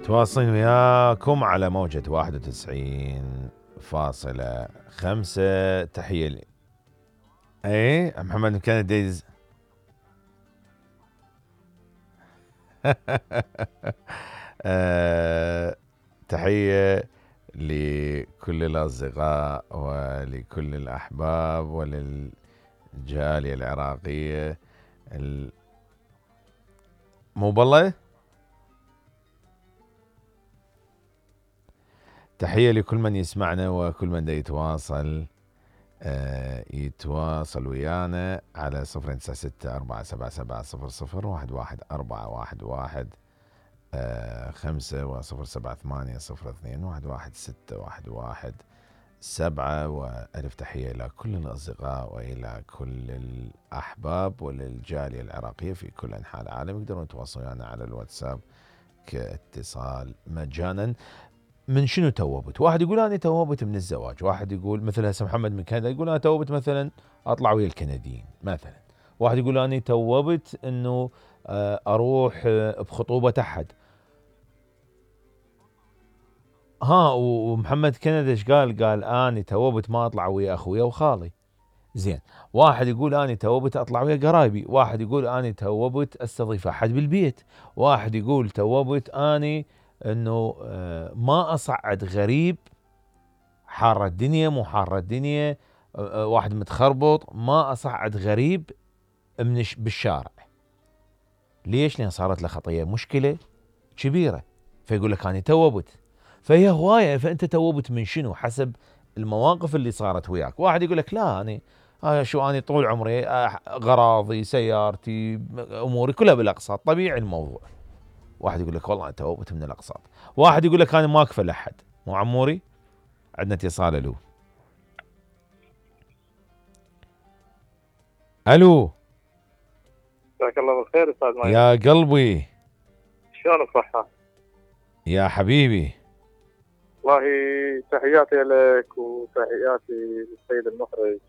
تواصلين وياكم على موجة 91.5. تحية لي. ايه محمد مكان دايز. تحية لكل الأصدقاء ولكل الأحباب وللجالية العراقية. مو بالله. تحية لكل من يسمعنا وكل من يتواصل ويانا على 0964777001141 5 و07802116117. وألف تحية إلى كل الأصدقاء وإلى كل الأحباب وللجالية العراقية في كل أنحاء العالم. يقدرون يتواصلون ويانا على الواتساب كاتصال مجانا. من شنو توبت؟ واحد يقول أنا توبت من الزواج، واحد يقول مثل هسه محمد من كندا يقول أنا توبت مثلا أطلع ويا الكنديين مثلا، واحد يقول أنا توبت إنه أروح بخطوبة أحد. ومحمد كندا ايش قال؟ قال أنا توبت ما أطلع ويا أخويا وخالي. زين. واحد يقول أنا توبت أطلع ويا قرايبي، واحد يقول أنا توبت أستضيف أحد بالبيت، واحد يقول توبت أنا انه ما اصعد غريب. حارة الدنيا مو حارة الدنيا، واحد متخربط ما اصعد غريب بالشارع. ليش؟ لان صارت له خطية مشكلة كبيرة، فيقول لك انا توبت. فهي هواية. فانت توبت من شنو؟ حسب المواقف اللي صارت وياك. واحد يقول لك لا انا شو اني طول عمري غراضي سيارتي اموري كلها بالاقساط، طبيعي الموضوع. واحد يقول لك والله أنا توبت من الأقساط. واحد يقول لك أنا ما أكفل أحد. مو عموري؟ عندنا اتصال. ألو ألو. جزاك الله بالخير أستاذ مايك. يا قلبي شلون الصحة؟ يا حبيبي. والله تحياتي لك وتحياتي للسيد المخرج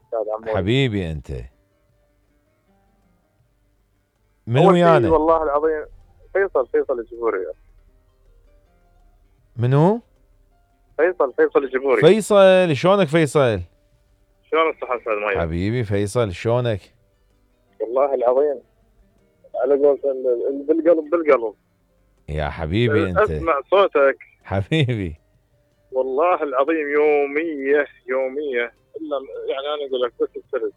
أستاذ عموري. حبيبي أنت. من ويانا؟ والله العظيم فيصل الجبوري. منو؟ فيصل الجبوري. فيصل شلونك فيصل؟ شلون الصحة أستاذ مايك؟ حبيبي فيصل شلونك؟ والله العظيم على قولة بالقلب يا حبيبي أنت. أسمع صوتك حبيبي. والله العظيم يومية إلا يعني أنا أقول لك بس السرد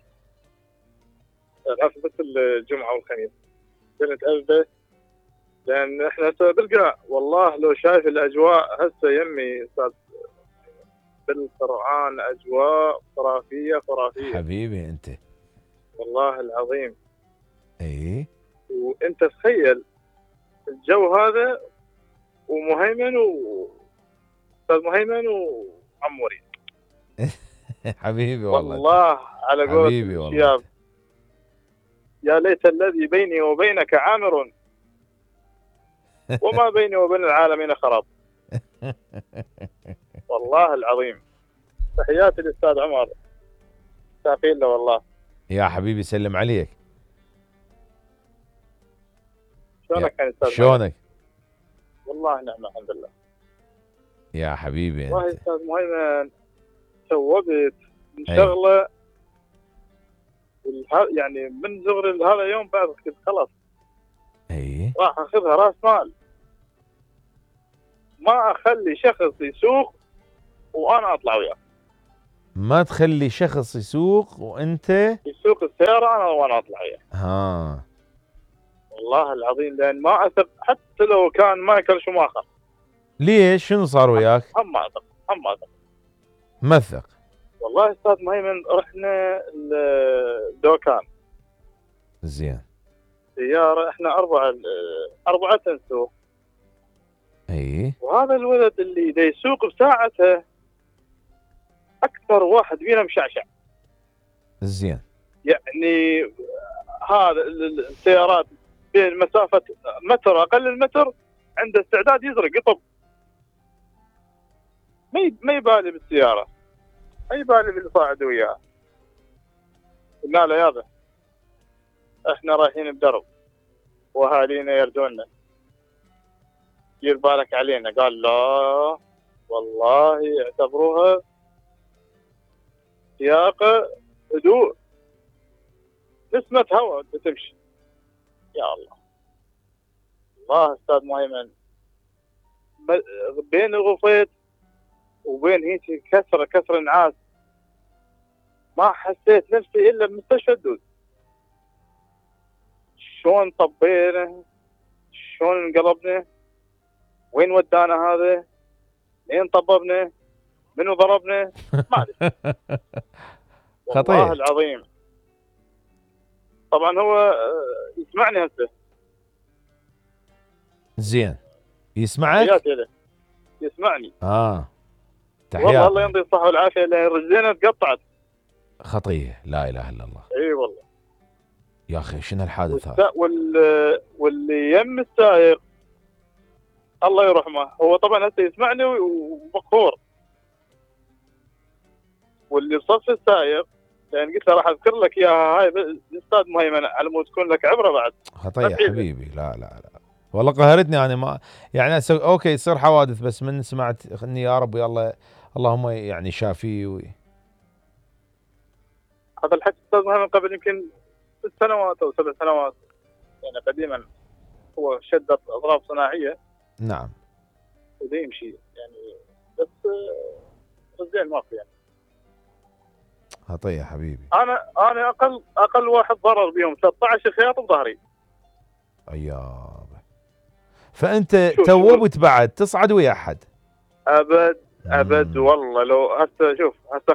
بس الجمعة والخميس كنت أثبت، لأن إحنا هسه بالقاع. والله لو شايف الأجواء هسه يمي أستاذ بالقرآن أجواء خرافية. حبيبي أنت. والله العظيم. إيه. وأنت تخيل الجو هذا ومهيمن أستاذ مهيمن وعموري. حبيبي والله على قولة الشياب يا ليت الذي بيني وبينك عامر وما بيني وبين العالمين خراب. والله العظيم. تحياتي للأستاذ عمر سافين له والله. يا حبيبي سلم عليك. شلونك يا أستاذ؟ شلونك؟ والله نعم الحمد لله. يا حبيبي أنت. والله أستاذ مهيمن توبت من شغلة يعني من زغر هذا يوم بعد كنت خلاص. اي راح اخذها راس مال، ما اخلي شخص يسوق وانا اطلع وياه. ما تخلي شخص يسوق وانت يسوق السيارة انا وانا اطلع وياه. والله العظيم لان ما اثق حتى لو كان مايكل شوماخر. ليش؟ شنو صار وياك؟ هم ما اثق. ما تثق؟ والله استاذ مهيمن رحنا الدوكان. زين. سيارة احنا أربعة نسوق. اي. وهذا الولد اللي دا يسوق بساعته أكثر واحد فينا مشعشع. زين. يعني هذا السيارات بين مسافة متر أقل المتر عنده استعداد يزرق يطب. ما يبالي بالسيارة، ما يبالي باللي صاعد وياه. قلنا له يابا احنا رايحين بدرب واهالينا يردونا، دير بالك علينا. قال لا والله اعتبروها سياقه هدوء، نسمة هواء بتمشي. يا الله الله استاذ مهيمن، بين الغفيت وبين هيك كسر نعاس ما حسيت نفسي الا بمستشفى الدود. شلون طبينا، شلون انقلبنا، وين ودانا هذا، لين طببنا، منو ضربنا، ما ادري. خطير. والله العظيم. طبعا هو يسمعني هسه. زين يسمعك؟ تحياتي له، يسمعني. تحياتي. والله الله يمضي الصحة والعافية، لان رجلينا تقطعت. خطية، لا اله الا الله. اي والله يا اخي شنو الحادث هذا؟ واللي يم السائق الله يرحمه، هو طبعا هسه يسمعني ومقهور. واللي صف السائق لان قلت له راح اذكر لك اياها هاي استاذ مهيمن على مود تكون لك عبره بعد. خطية حبيبي. لا والله قهرتني انا، ما يعني اوكي يصير حوادث، بس من سمعت اني يا رب يلا اللهم يعني شافيه هذا الحكي استاذ مهيمن قبل يمكن 6 سنوات او 7 سنوات، يعني قديما. هو شدت اضراب صناعيه. نعم. وده يمشي يعني، بس رجال ماكو يعني. خطية حبيبي. انا اقل واحد ضرر بيهم 13 خياط بظهري. ايوه. فانت توبت بعد تصعد ويا احد؟ ابد والله. لو هسه شوف هسه